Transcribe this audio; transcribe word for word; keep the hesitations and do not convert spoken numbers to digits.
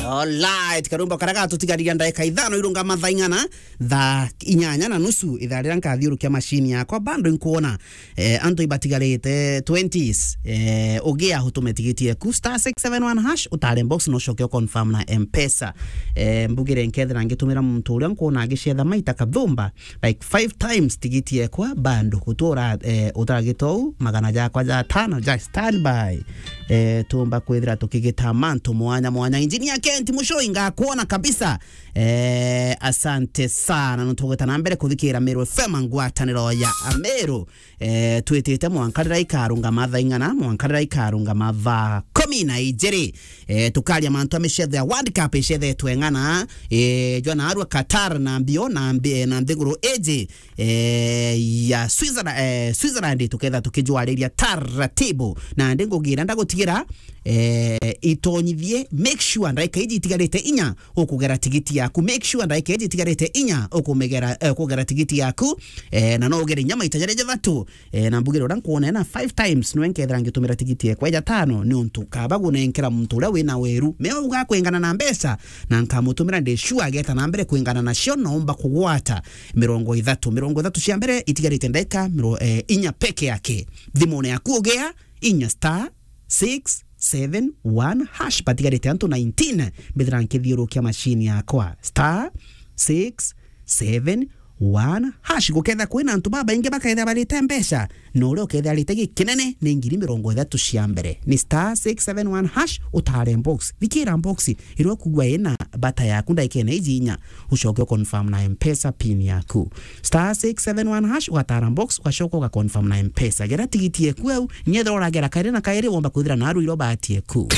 Alright, karumbo karia gatutigarira ndagika ithano irunga mathaa ing'ana, thaa inyanya na nusu, ithaa riria nkathiurukia machine yakwa, bando inkuona, eh, antu ibatigarite twenties, eh, ugia utume tigiti eku, star six seven one hash, utare box, no ucoke u confirm na M-Pesa. Eh, mbugire nkethira ngitumira muntu uria nkuona agicetha maita kathumba, like five times tigiti ekwa, bando gutura, eh, utaragitou magana jakwa ja tano ja standby. Eh, tumba kwithira tukigita mantu mwanya mwanya. Engineer Kent Mushoi, ngakuona kabisa. Eh, asante sana. Nutugweta na mbere kuthikira Meru F M, ngwataniro ya Ameru. Eh, twitite mwanka riria ikarunga mathaa ing'ana, mwanka riria ikarunga mathaa kumi na ijiri. Eh, tukaria mantu a micetho ya World Cup icethetwe ng'ana, eh, jwa naarua Qatar na mbio na mbi-, na nthiguru iji, eh, ya Switzerland, eh, Switzerland, tuketha tukijwariria taratibu. Na ndi ngugira ndagutigira, eh, itonyithie, make sure ndagika iji itigarite inya ukugera tigiti yaku, make sure ndagika iji itigarite inya ukumegera, eh, kugera tigiti yaku, eh, na no ugere inya maita jaria jathatu. Eh, na mbugire uria nkuona na five times, nwe nkethira ngitumira tigiti ekwa ja tano, ni untu kaba gunenkera muntu uria wina weru. Me uga kwingana na mbeca, na nkamutumira ndi sure ageta na mbere kwingana nacio, naomba kugwata mirongo ithatu. Mirongo ithatu cia mbere itigarite ndagika miro-, eh, inya peke yake. Thimune yaku ugea inya star six seven one hash, batigarite antu nineteen, mbithira nkithiurukia machine yakwa. Star six seven one hash. Guketha kwina antu babaingi baketha barite mbeca, na uria uketha arite gikinene ni ngiri mirongo ithatu cia mbere. Ni star six seven one hash, utare box. Thikira box iria ukugua ina bata yaku ndagikene iji inya, ucoke u confirm na M-Pesa pin yaku. Star six seven one hash, ugatara box, ugacoka uga confirm na M-Pesa. Gera tigiti eku au, nyethira uragera kairi na kairi, womba kwithira naru iro bahati eku.